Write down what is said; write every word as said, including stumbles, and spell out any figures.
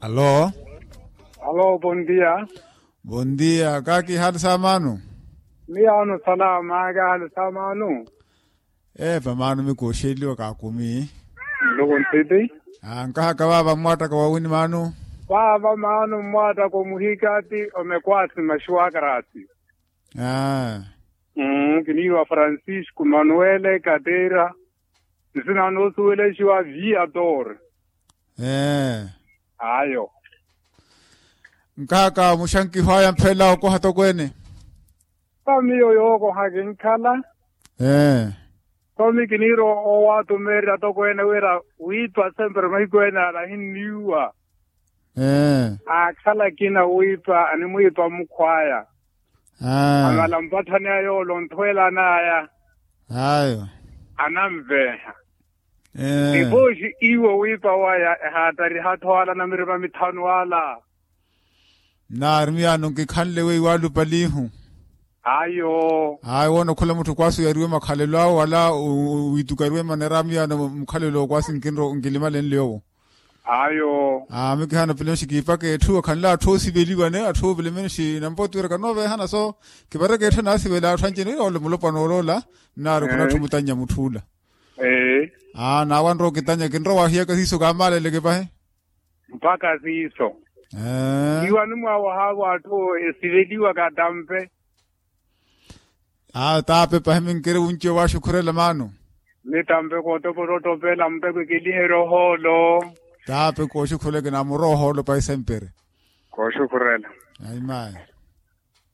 Alo. Alo, bondia. Bondia, kaaki hali sa maanu? Miyaano salama kaaki hali sa maanu? Epa maanu mikooxeliwa kaakumi. Nluku ntiti. Nkahaka vaava mmwaattaka wawini maanu? Vaava maanu mmwaattaka omuhikati omekwasi maxuwakarasi. Aaa. Kiniiwa francisco manuele kateira. Nsina noosuwelexiwa viador. Ee. Ayo. Nkahaka muxankiho aya mphelela okoha tokweene? Sa miyo yookoha kinkhala. Ee. Somi kiniira owatumeerya tokweene wira wiipa sempre mahiku ene ala ahinniiwa. Aakhala akina wiipa animwiipa mukhwaya. Amala mpatthani aya ole onthwelan'aya. Ayo. Ananveeha. Ipooxi iwo wiipa waya ehaattariha-tho ala namirima mithanu ala. Nnaari miyaano nkikhanle weiwo alupalihu. Ayo. Ayo woona okhula mutthu kwaasi oyariwe makhalelo awe wala wiitukariwe manera miyaano mukhalelo kwaasi nkinro nkilimalenle owo. Ayo. Aami kihaana pilemenxi kiipaka etthu akhanle atthu oosiveliwa ne atthu oovelemenxi nampooti wira kanooveehana so kipareke etthu anaasivela atthu anci-ene ole mulopwana oloola. Nnaari khuna atthu mutannya mutthu ula. Aa naawanre okitanya kinrowa wahiyaka siiso kaamaaleleke pahi. Mpakha siiso. Iwani mwaawahaavo atthu esiveliwa katampe. Aa taape pahi minkiri wunci owaaxukhurela maanu. Mitampe kootopela ottopela muteko ekeliherya ohoolo. Taape kooxukhurela kinaamura ohoolo pahi sempre. Kooxukhurela. Aimaayi.